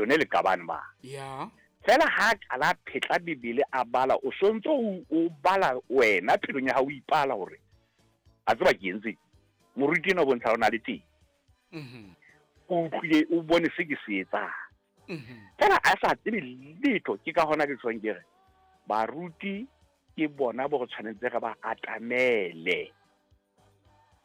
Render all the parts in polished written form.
lone le qabane ma. Ya. Fela ha a qala a phetla Bibele a bala, o sontso o bala wena phelong ya hao o ipala hore a tseba ke entse. Moruti ena o bontsha o na le teng. O utlwile o bone se ke se etsang. Fela a sa tsebe letho, ke ka hona ke tshwang ke re baruti ke bona bo re tshwanetse re ba atamele.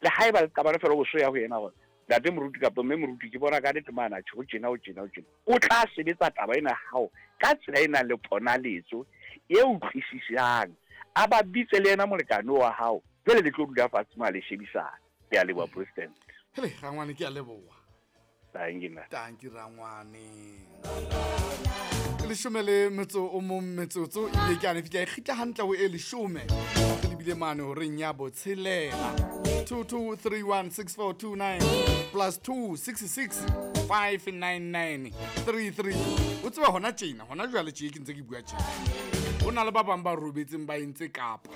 Le haeba le qabane fela o so ya ho yena hore ntate moruti kapa mme moruti ke bona ka nnete mane atjhe ho tjena ho tjena ho tjena. O tla sebetsa taba ena ya hao ka tsela e nang le ponaletso e utlwisisang. A ba bitse le yena molekane wa hao, jwale le tlo dula fatshe ma le shebisana. Ke a leboha President. Hele rangwane ke a leboha. Tanki nna. Tanki rangwane. Leshome le metso o mong metsotso ebile ke ane fihla e kgitla hantle ho e leshome. Re lebile mane horeng ya botshelela. 22316429 plus 266 599 33. O tseba hona tjena, hona jwale tje ke ntse ke bua tjena. Ho na le ba bang ba robetseng ba entse kapa.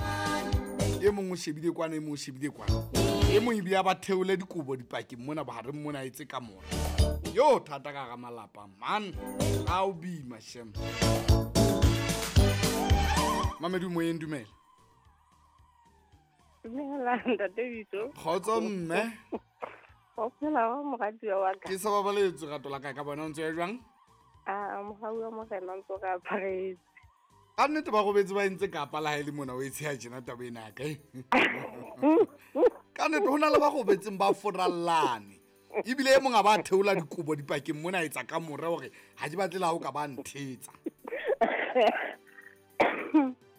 E mong o shebile kwana, e mong o shebile kwana. E mong ebile a ba theole dikobo dipakeng mona bohareng mona a etse kamora. Yo thata ka hara malapa man. A o bima shem. Mamedi moyeng dumela. Dumela ntate Bitso. Kgotso mme. O phela wa moratuwa wa ka. Ke sa babaletswe rato la ka ka bona o ntse ya jwang? A mohau wa morena o ntse o re aparetse. Ka nnete ba robetse ba entse kapa la ha e le mona o e tsheha tjena taba ena ya ka. Ka nnete ho na le ba robetseng ba forallane. Ebile e mong a ba theola dikobo dipakeng mona a etsa kamore hore ha ke batle le ha o ka ba nthetsa.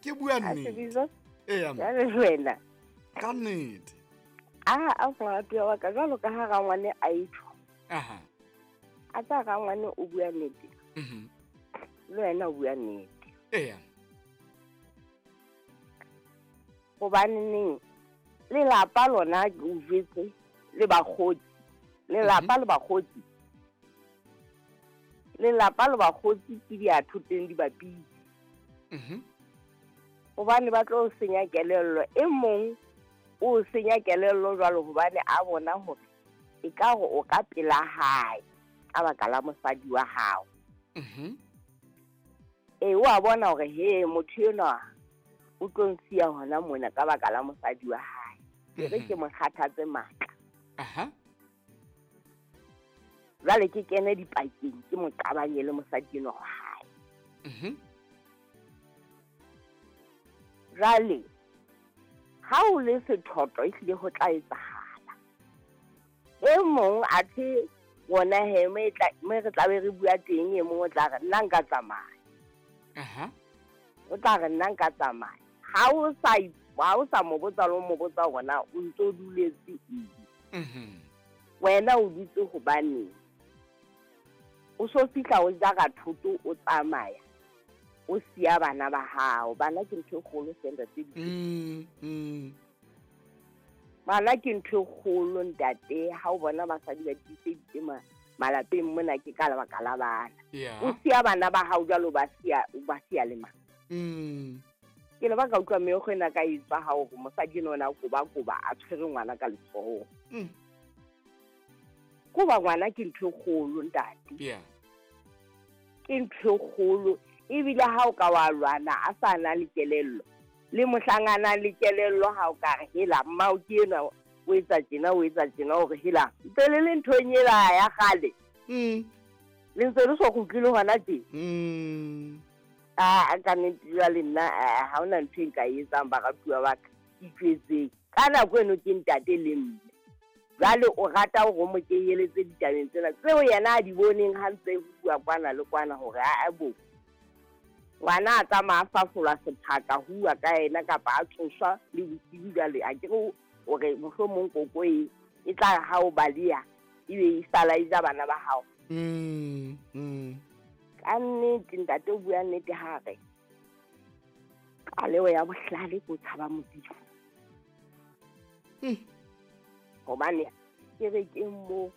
Ke bua nnete. Eya. Jwale wena. Ka nnete. A moratuwa wa ka jwalo ka ha rangwane a etjho. Aha. A tsa rangwane o bua nnete. Le wena o bua nnete. Eya. Hobaneng lelapa lona ke o jwetse le bakgotsi. Lelapa le bakgotsi. Lelapa le bakgotsi ke diathoteng di bapile. Hobane ba tlo senya kelello. E mong o senya kelello jwalo hobane a bona hore e ka hore o ka pela hae ka baka la mosadi wa hao. E wa bona hore he motho enwa o tlo nsiya hona mona ka baka la mosadi wa hae. Ke re ke mo kgathatse matla. Aha. Jwale ke kene dipakeng ke mo qabanye le mosadi enwa wa hae. Jwale ha o le sethoto ehlile ho tla etsahala. E mong athe wona he me re tla be re bua teng e mong o tla re nna nka tsamaya. Aha. O tla re nna nka tsamaya. Ha o sa mo botsa le mo botsa hona o ntso duletse eng. Wena o dutse hobaneng? O so fihla o jara thoto o tsamaya. O siya bana ba hao. Bana ke ntho e kgolo hle ntate. Bana ke ntho e kgolo ntate. Ha o bona basadi ba tiiseditse malapeng mona ke ka lebaka la bana. O siya bana ba hao jwalo ba siya le mang. Ke le ba ka utlwa meokgo ena ka e tswa hao hore mosadi ena o na koba-koba a tshwere ngwana ka letsoho. Koba ngwana ke ntho e kgolo ntate. Ke ntho e kgolo. Ebile ha o ka wa lwana a sa na le kelello. Le mohlang a nang le kelello ha o ka re hela mmao ke enwa o etsa tjena o etsa tjena hore hela ntse le le nthong ela ya kgale. Le ntse le so kgutlile hona tje. A ka nnete jwale nna ha hona ntho e nka e etsang baratuwa ba ka. Itjwetseng. Ka nako eno ke ntate le mme. Jwale o rata hore o mo kenyeletse ditabeng tsena tseo yena a di boneng ha ntse ho bua kwana le kwana hore a bo. Ngwana a tsamaya a fafolwa sephaka ho bua ka yena kapa a tsoswa le bosiu jwale a ke re hore mohlomong koko e tla ha o baleha ebe e sala e ja bana ba hao. Ka nnete ntate o bua nnete ha re qaleho ya bohlale ke o tshaba Modimo. Hobane kerekeng moo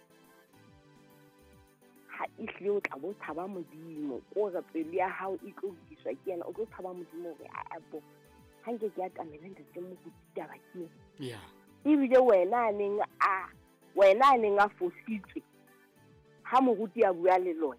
ha ehlile o tla bo tshaba Modimo, ko re pelo ya hao e tlo lokiswa ke yena, o tlo tshaba Modimo hore a bo ha nke ke atamela ntate moruti taba ke ena. Ebile wena a neng a fositswe ha moruti a bua le lona